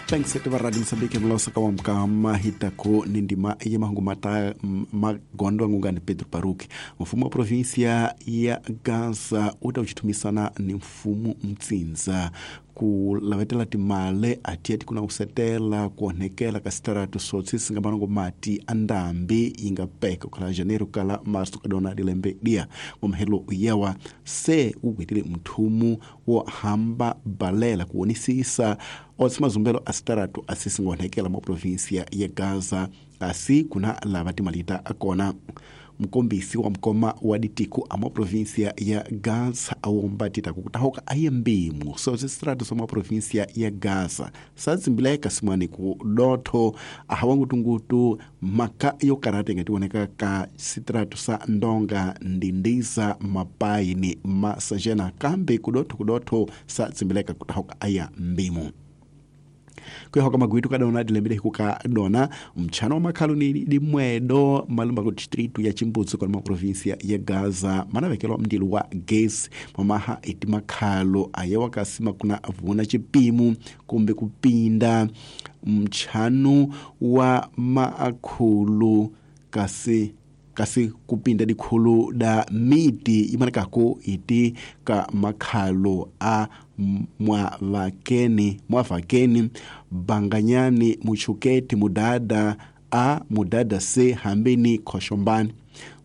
Thanks va Radio Mozambique mlosa wa mkama hitako ni ndima ya mahungu mata magondo ngungani Pedro Paruki. Mfumo wa provinsia ya Gaza utauchitumisana ni mfumo mtsinza kulavetela timale atiati kuna usetela kuonekela kasitaratu sotsi singamanongo mati andambi ingapeka kala janeiro kala março kadona dilembe dia ngomhelo yawa se ugwetile mthumu wo hamba balela kuonisisa otsi mazumbelo asitaratu asisingonekela mwa provinsia ya Gaza asi kuna lava timalita akona. Mkombisi wa mkoma wa ditiku ama provinsia ya Gaza awomba titaku kutahoka aye mbimu so zisitratu somwa provinsia ya Gaza sazimbileka simwani ku dotho ahawangutungutu maka yokarate ngatiwoneka ka sitratu sa ndonga ndindiza mapaini masajena kambe kudotho kudotho sazimbileka kutahoka aya mbimu. Kuyahoka magwitu kadona dilembele hikuka dona mchana wa makhalu ni dimwedo malumba ku distritu ya Chimbudzi kwa provinsia ya Gaza manavekelwa mndilo wa gesi mamaha iti makhalo aye wakasima kuna vuna chipimu kumbe kupinda mchanu wa makhulu kasi kupinda dikhulu da miti imanekako iti ka makhalo a mwavakeni banganyani muchuketi mudada a mudada c hambini khoshombani.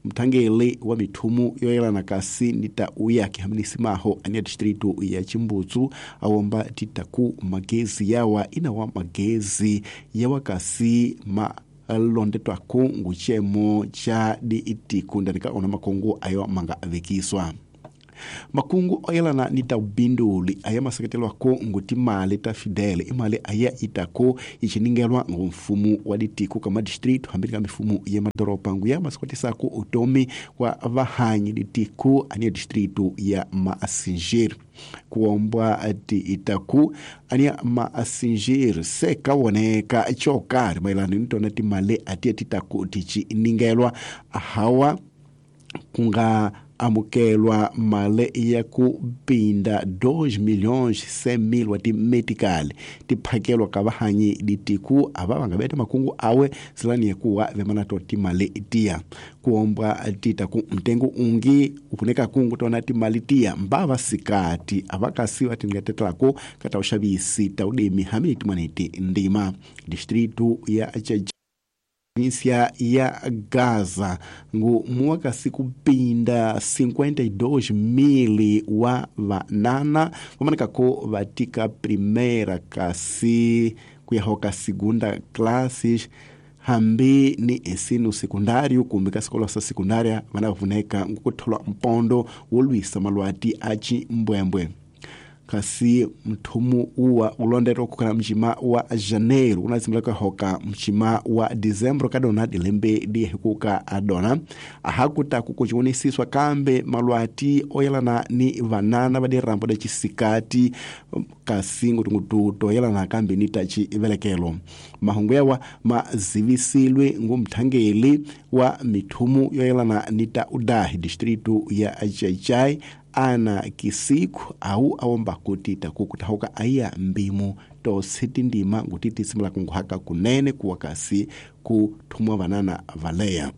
Mthangeli wa mithumu yoyelana kasi nita uyake hambini simaho ania distritu ya Chimbudzu awomba titaku magezi yawa inawa magezi yawa kasi ma londetwako nguchemo cha diitiku ndanika ona makongo ayo manga avekiswa. Makungu oyelana nita ubinduli aya maseketelwako nguti mali ta fidele imali aya itako ichiningelwa ngumfumu wa ditiku kama distritu hambili ka mifumu ya madoropa nguya masekwatisako utomi wa vahanyi ditiku ania distritu ya Maasingir. Kuombwa ti itaku ania Maasingir se kawoneka chokari mailani nitona timale atia titaku tichiningelwa ahawa kunga amukelwa male ya kupinda 2,100,000 wa timedikali tiphakelwa ka vahanyi ditiku ava vangaveta makungu awe silani yakuwa vemanato timali tiya kuombwa tita ku mtengo ungi upuneka kungu tona timali tiya mbava sikati avakasi vatingatetelako kata uxavisi ta udimi hamini timwaneti ndima distritu ya província ya Gaza ngu muwakasi kupinda 52,000 wa vanana vamanekako vatika primeira kasi kuyahoka segunda classes hambi ni ensino secundário kumbe ka sikolo sa secundária vana vavuneka ngukutholwa mpondo wo lwisa malwati a chimbwembwe. Kasi mthumu uwa ulondetwa kukhala mchima wa janeiro unazimileka hoka mchima wa dezembro kadona dilembe dihikuka adona ahakutaku kuchiwonisiswa kambe malwati oyelana ni vanana va dirambo da chisikati kasi ngutungutu toyelana kambe ni tachi velekelo. Mahungu yawa mazivisilwe ngumthangeli wa mithumu yoyelana ni ta udahi distritu ya Chaichai ana kisiku au awomba kuti takukutahoka aya mbimu tositi ndima ngutiti simula kunguhaka kunene kuwakasi kuthumwa vanana valeya.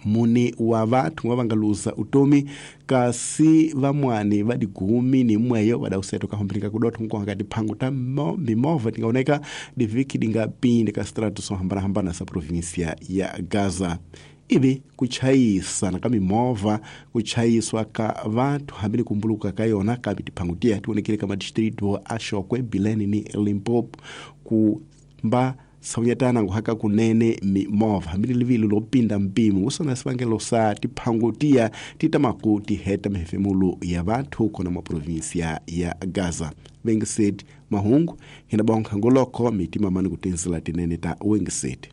Muni wa vathu vavangaluza utomi kasi vamwani va digumi ni mweyo vadauseto kahombilika kudotho nkuhanga tiphangu ta mimovha tingaoneka diviki dingapinde ka sitratu so hambanahambana sa provinsia ya Gaza. Ivi kuchayisana ka mimovha kuchayiswa ka vathu hambi ni kumbuluka ka yona kambe tiphangu tiya tionekile ka madistritu a Shokwe, Bilene ni Limpopo kumba saunyatana nguhaka kunene mimovha hambi ni livili lopinda mpimo usona sivangelo sa tiphangu tiya titamaku tiheta mihefemulo ya vathu kona mwa provinsia ya Gaza. Vengiset mahungu hina bonkha ngoloko mitima mani kutensela tinene ta Wengiset.